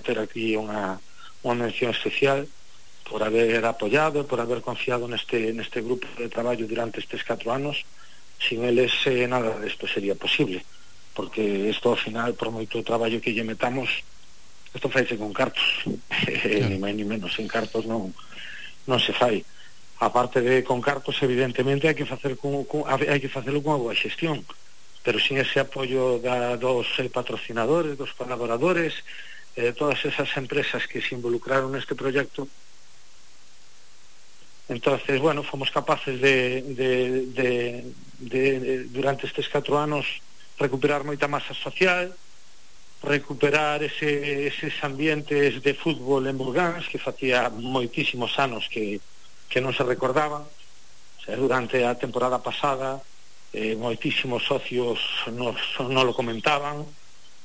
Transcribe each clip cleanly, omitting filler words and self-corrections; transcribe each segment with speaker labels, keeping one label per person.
Speaker 1: ter aquí unha mención especial por haber apoiado, por haber confiado neste grupo de traballo durante estes 4 anos. Sin eles nada desto sería posible, porque isto ao final, por moito traballo que lle metamos, isto faise con cartos. Ni máis ni menos, en cartos non se fai. Aparte de con cartos, evidentemente hai que facelo cunha boa xestión, pero sin ese apoio dos patrocinadores, dos colaboradores, todas esas empresas que se involucraron neste proxecto, entonces, bueno, fomos capaces de durante estes 4 anos recuperar moita masa social, recuperar eses ambientes de fútbol en Burgáns que facía moitísimos anos que non se recordaban. O sea, durante a temporada pasada moitísimos socios nos lo comentaban,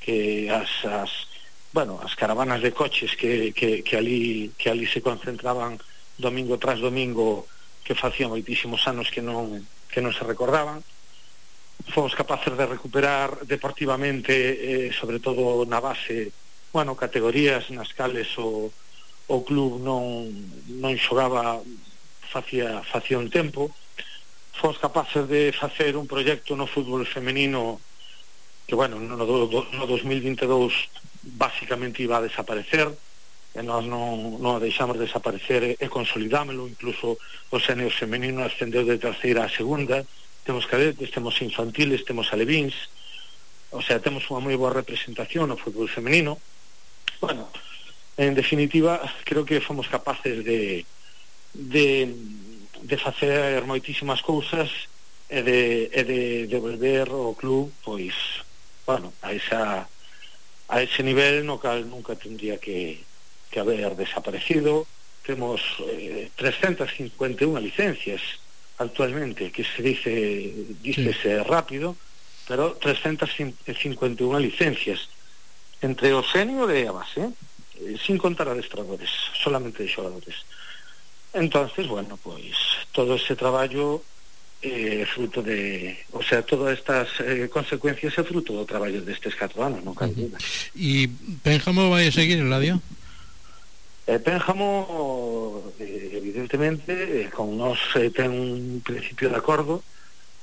Speaker 1: que as caravanas de coches que ali se concentraban domingo tras domingo, que facía moitísimos anos que non se recordaban. Fomos capaces de recuperar deportivamente, sobre todo na base, categorías nas cales o club non xogaba facía un tempo. Fomos capaces de facer un proxecto no fútbol femenino que, no 2022 basicamente iba a desaparecer, e nós non deixamos desaparecer e consolidámelo. Incluso o senior femenino ascendeu de terceira a segunda. Temos cadetes, temos infantiles, temos alevíns, o sea, temos unha moi boa representación no fútbol femenino. En definitiva, creo que fomos capaces de facer moitísimas cousas e de devolver o club, pois, a ese nivel no cal nunca tendría que haber desaparecido. Temos 351 licencias actualmente, que se dícese rápido, pero 351 licencias entre o senior e a base, sin contar adestradores, solamente de xogadores. Entonces, todo ese traballo fruto de, todas estas consecuencias é fruto do traballo destes 4 anos, non cabe duda.
Speaker 2: E Pénjamo vai a seguir, Eladio?
Speaker 1: Pénjamo, evidentemente, con nos ten un principio de acordo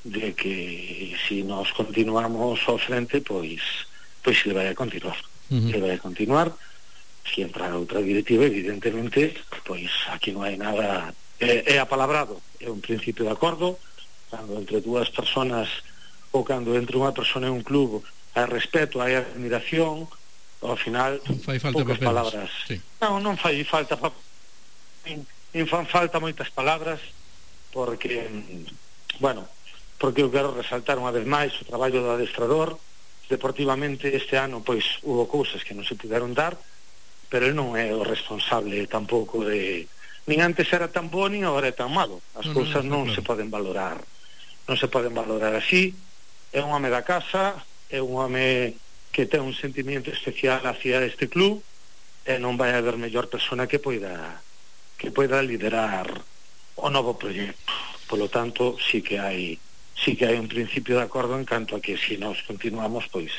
Speaker 1: de que si nos continuamos ao frente, pois ele vai a continuar. Ele vai a continuar. Si entra outra directiva, evidentemente, pois aquí non hai nada, é apalabrado, é un principio de acordo. Cando entre dúas personas ou cando entre unha persona e un club hai respeto, hai admiración, ao final poucas palabras. Sí. Non fai falta nin fan falta moitas palabras, porque eu quero resaltar unha vez máis o traballo do adestrador. Deportivamente este ano pois hubo cousas que non se puderon dar, pero el non é o responsable tampouco de, nin antes era tan bo nin agora é tan malo. As cousas non se poden valorar así. É un home da casa, é un home que ten un sentimiento especial hacia este club, e non vai haber mellor persona que poida liderar o novo proxecto. Polo tanto, sí que hai un principio de acordo en canto a que si nos continuamos, pois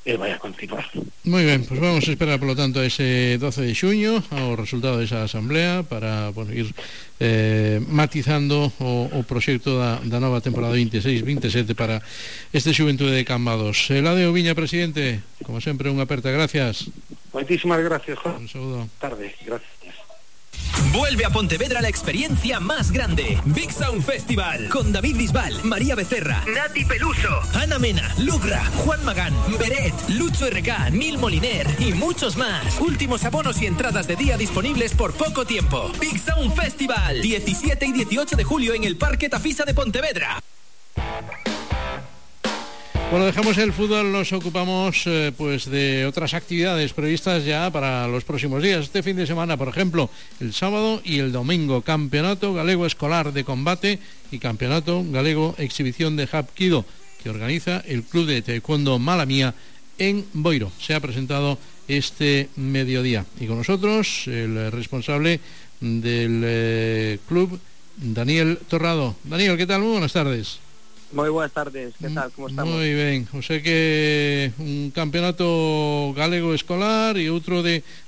Speaker 1: ele vai a continuar.
Speaker 2: Moi ben, pois vamos a esperar polo tanto a ese 12 de xuño ao resultado desa asamblea para ir matizando o proxecto da nova temporada 26-27 para este Xuventude de Cambados. Eladio Viña, presidente, como sempre, unha aperta gracias.
Speaker 1: Moitísimas gracias, Juan.
Speaker 2: Un saúdo.
Speaker 1: Tarde, gracias.
Speaker 3: Vuelve a Pontevedra la experiencia más grande. Big Sound Festival con David Bisbal, María Becerra, Nati Peluso, Ana Mena, Lugra, Juan Magán, Beret, Lucho RK, Nil Moliner y muchos más. Últimos abonos y entradas de día disponibles por poco tiempo. Big Sound Festival, 17 y 18 de julio en el Parque Tafisa de Pontevedra.
Speaker 2: Bueno, dejamos el fútbol, nos ocupamos de otras actividades previstas ya para los próximos días. Este fin de semana, por ejemplo, el sábado y el domingo, Campeonato Galego Escolar de Combate y Campeonato Galego Exhibición de Hapkido, que organiza el Club de Taekwondo Malamía en Boiro. Se ha presentado este mediodía. Y con nosotros el responsable del club, Daniel Torrado. Daniel, ¿qué tal? Muy buenas tardes.
Speaker 4: Moi boas tardes, que tal, como estamos?
Speaker 2: Moi ben, o sea que un campeonato galego escolar e outro de